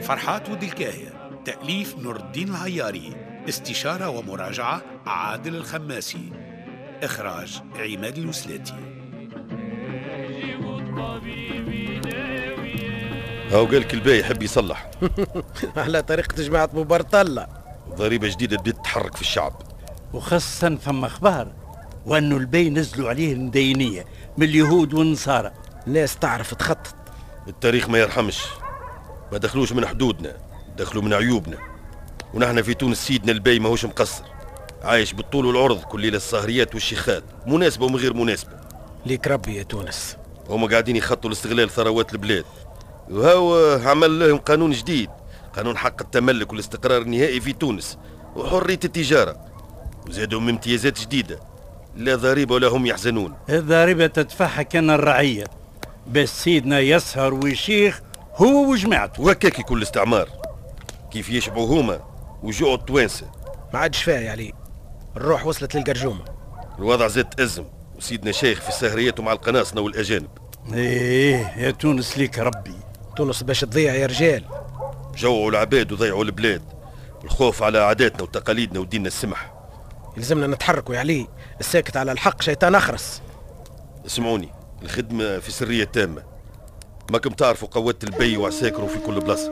فرحات ولد الكاهية. تأليف نور الدين العياري. استشارة ومراجعة عادل الخماسي. إخراج عماد الوسلاتي. هاو قالك الباي يحب يصلح. على طريقة جماعة بوبرطلة. ضريبة جديدة بدأت تحرك في الشعب. وخاصة فما أخبار وأنه الباي نزلوا عليه المدينية من اليهود والنصارى. الناس تعرف تخطط. التاريخ ما يرحمش، ما دخلوش من حدودنا، دخلوا من عيوبنا. ونحن في تونس سيدنا الباي ماهوش مقصر، عايش بالطول والعرض كل ليلة السهريات والشيخات، مناسبة ومن غير مناسبة. ليك ربي يا تونس. هما قاعدين يخطوا لاستغلال ثروات البلاد، وهو عمل لهم قانون جديد، قانون حق التملك والاستقرار النهائي في تونس وحرية التجارة، وزادهم امتيازات جديدة، لا ضريبة ولا هم يحزنون. الضريبة تدفعها كان الرعية، بس سيدنا يسهر ويشيخ هو وجماعته. وهكاك يكون الاستعمار كيف يشبعوا هما وجوعوا التوانسة. ما عادش فيها يا علي، الروح وصلت للقرجومة. الوضع زاد تأزم وسيدنا شيخ في سهرياته مع القناصنة والأجانب. ايه يا تونس ليك ربي. تونس باش تضيع يا رجال. جوعوا العباد وضيعوا البلاد، الخوف على عاداتنا وتقاليدنا وديننا السمح. يلزمنا نتحركوا يا علي، الساكت على الحق شيطان أخرس. اسمعوني، الخدمة في سرية تامة، ماكم تعرفوا قوات البي وعساكروا في كل بلاصة.